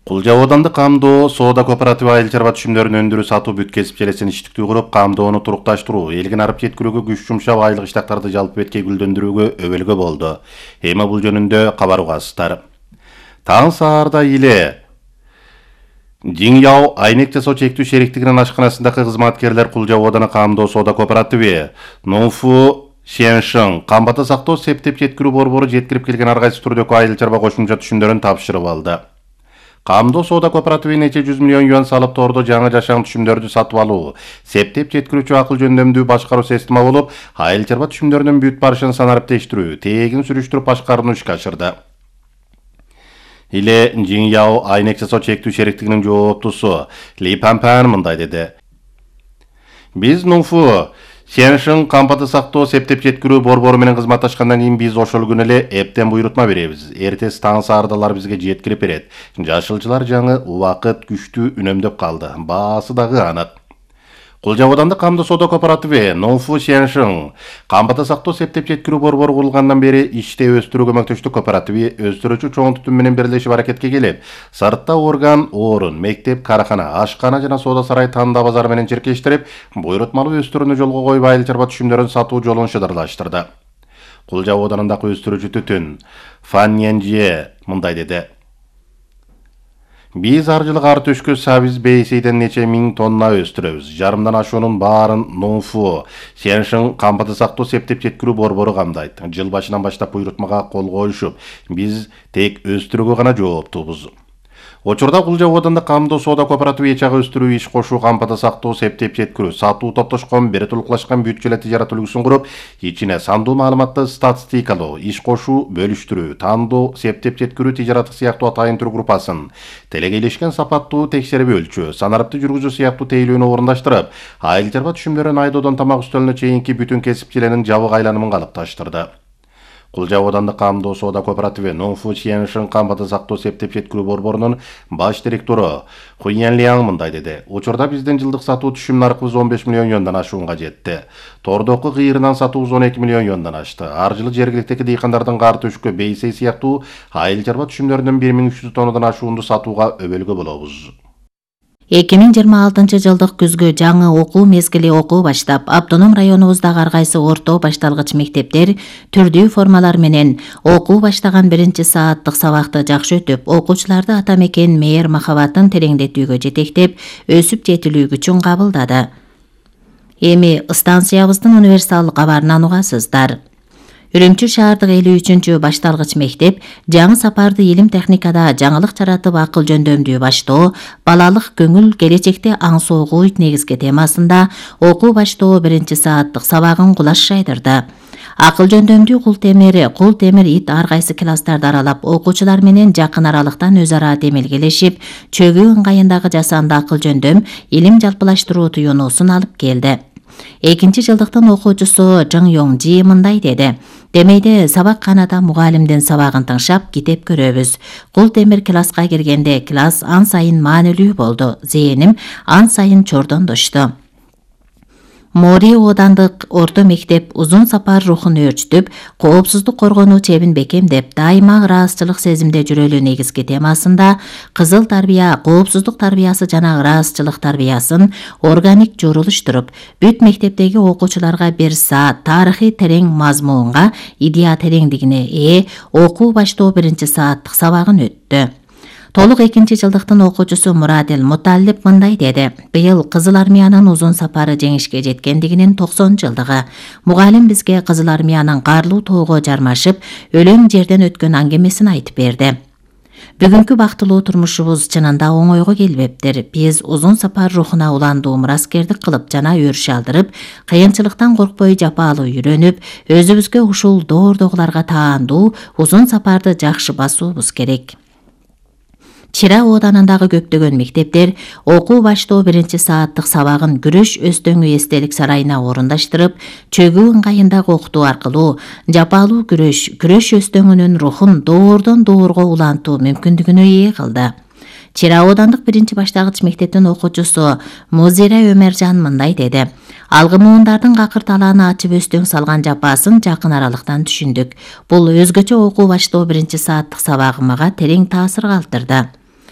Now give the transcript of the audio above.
Кулжа аудандык камдоо соода кооперативи айыл чарба түшүмдөрүн өндүрүү сатуу бүт кесип желесин иштиктүү куруп, камдоону турукташтыруу, элгин арып жеткирүүгө күч жумшап, айлык иштактарды жалпы бетке гүлдөндүрүүгө өбөлгө болду. Эми бул жөнүндө кабар угасыздар. Таң саарда эле Жиңяо айнек жасоо чектүү шериктигинин ашканасындагы кызматкерлер Кулжа ауданы камдоо соода кооперативи Нуфу Шеншин камбата сактоо септеп жеткирүү борбору жеткирип келген ар кайсы түрдөгү айыл чарба кошумча түшүмдөрүн тапшырып алды. Камдоо соода кооперативи нече 100 миллион юан салып тордо жаңы жашаан түшүмдөрдү сатып алуу, септеп жеткирүүчү акыл жөндөмдүү башкаруу система болуп, айыл чарба түшүмдөрүнүн бүт барышын санарип тештирүү, тегин сүрүштүрүп башкарууну ишке ашырды. Иле Жиңяо айнек жасоо чектүү шериктигинин жооптусу Ли Панпан мындай деди. Биз Нуфу Шеншин камбата сактоо септеп жеткирүү борбору менен кызматташкандан кийин биз ошол күнү эле эптен буйрутма беребиз. Эртеси таң саардалар бизге жеткирип берет. Жашылчылар жаңы убакыт күчтүү үнөмдөп калды. Баасы дагы анык. Кулжа аудандык камдоо соода кооперативи Нуфу Шеншин камбата сактоо септеп жеткирүү борбору курулгандан бери иште өстүрүү көмөктөштүк кооперативи өстүрүүчү чоң тутум менен бирлешип аракетке келип, сыртта орган, орун, мектеп, карахана, ашкана жана соода сарай танда базары менен чиркештирип, буйрутмалуу өстүрүүнү жолго коюп, айыл чарба түшүмдөрүн сатуу жолун шыдырлаштырды. Кулжа ауданындагы өстүрүүчү түтүн Фан Янжие мындай деди. Биз ар жылы ар төшкө сабиз бейсейден нече миң тонна өстүрөбүз. Жарымдан ашуунун баарын Нуфу Шеншин камбата сактоо септеп жеткирүү борбору камдайт. Жыл башынан баштап буйрутмага кол коюшуп, биз тек өстүрүүгө гана жооптуубуз. Учурда Кулжа аудандык камдоо соода кооперативи ичага өстүрүү, иш кошуу, камбата сактоо, септеп жеткирүү, сатуу топтошкон, бери толукташкан бүт желе тижарат үлгүсүн куруп, ичине сандуу маалыматты статистикалоо, иш кошуу, бөлүштүрүү, тандоо, септеп жеткирүү тижараты сыяктуу атайын түр группасын, телегейлешкен сапаттуу текшерип өлчөө, санарыпты жүргүзүү сыяктуу тейлөөнү орундаштырып, айыл чарба түшүмдөрүн айдоодон тамак үстөлүнө чейинки бүтүн кесип желенин жабык айланымын калыпташтырды. Кулжа аудандык камдоо соода кооперативи Нуфу Шеншин камбата сактоо септеп жеткирүү борборунун баш директору Хуян Лиаң мындай деди. Учурда биздин жылдык сатуу түшүм наркыбыз 15 миллион юандан ашуунга жетти. Тордоку кыйырынан сатуубуз 12 миллион юандан ашты. Ар жылы жергиликтеги дыйкандардын кар төшкө, бейсей сыяктуу айыл чарба түшүмдөрүнүн 1300 тоннадан ашуунду сатууга өбөлгө болобуз. 2026 жылдык күзгү жаңы окуу мезгили окуу баштап, автоном районубуздагы ар кайсы орто башталгыч мектептер түрдүү формалар менен окуу баштаган 1-сааттык сабакты жакшы өтүп, окуучуларды ата мекен мээр махабатын тереңдетүүгө жетектеп, өсүп жетилүү күчүн кабылдады. Эми станциябыздын универсал кабарынан угасыздар. Үрүмчү шаардык 53-чү башталгыч мектеп жаңы сапарды илим техникада жаңылык жаратып акыл жөндөмдүү баштоо, балалык көңүл келечекте аң соогуу негизги темасында окуу баштоо 1-сааттык сабагын кулаш жайдырды. Акыл жөндөмдүү кул темир ит ар кайсы класстарды аралап, окуучулар менен жакын аралыктан өз ара демелгелешип, чөгүү ыңгайындагы жасанды акыл жөндөм илим жалпылаштыруу туюнуусун алып келди. 2-жылдыктын окуучусу Жың Йоңжи мындай деди. Демейде сабак канада мугалимдин сабагын тыңшап китеп көрөбүз. Кул темир класска киргенде класс ан сайын маанилүү болду. Зээним ан сайын чордондошту. Мори оодандык орто мектеп узун сапар рухун өөрчүтүп, коопсуздук коргонуу чебин бекемдеп, дайыма ыраазчылык сезимде жүрөлүү негизги темасында кызыл тарбия, коопсуздук тарбиясы жана ыраазчылык тарбиясын органик журулуштуруп, бүт мектептеги окуучуларга 1 саат тарыхый терең мазмунга, идея тереңдигине ээ окуу баштоо 1-сааттык сабагын өттү. Толук 2-жылдыктын окуучусу Мурадил Муталлип мындай деди. Быйыл Кызыл армиянын узун сапары жеңишке жеткендигинин 90-жылдыгы. Мугалим бизге Кызыл армиянын карлуу тоого жармашып, өлөң жерден өткөн аңгемесин айтып берди. Бүгүнкү бактылуу турмушубуз чынында оңойго келбептир. Биз узун сапар рухуна уландуу мураскердик кылып жана өрүш алдырып, кыйынчылыктан коркпой жапалуу үйрөнүп, өзүбүзгө ушул доордогуларга таандуу узун сапарды жакшы басуубуз керек. Чира оодарындагы көптөгөн мектептер окуу баштоо 1-сааттык сабагын күрөш өстөңү эстелик сарайына орундаштырып, чөгүү ыңгайындагы окутуу аркылуу жапалуу күрөш өстөңүнүн рухун доордон доорго улантуу мүмкүндүгүнө ээ кылды. Чира оодандык 1-баштагыч мектептин окуучусу Музира Өмержан мындай деди. Алгымуундардын какыр талааны ачып өстөң салган жапасын жакын аралыктан түшүндүк. Бул өзгөчө окуу баштоо 1-сааттык сабагы мага терең таасир калтырды.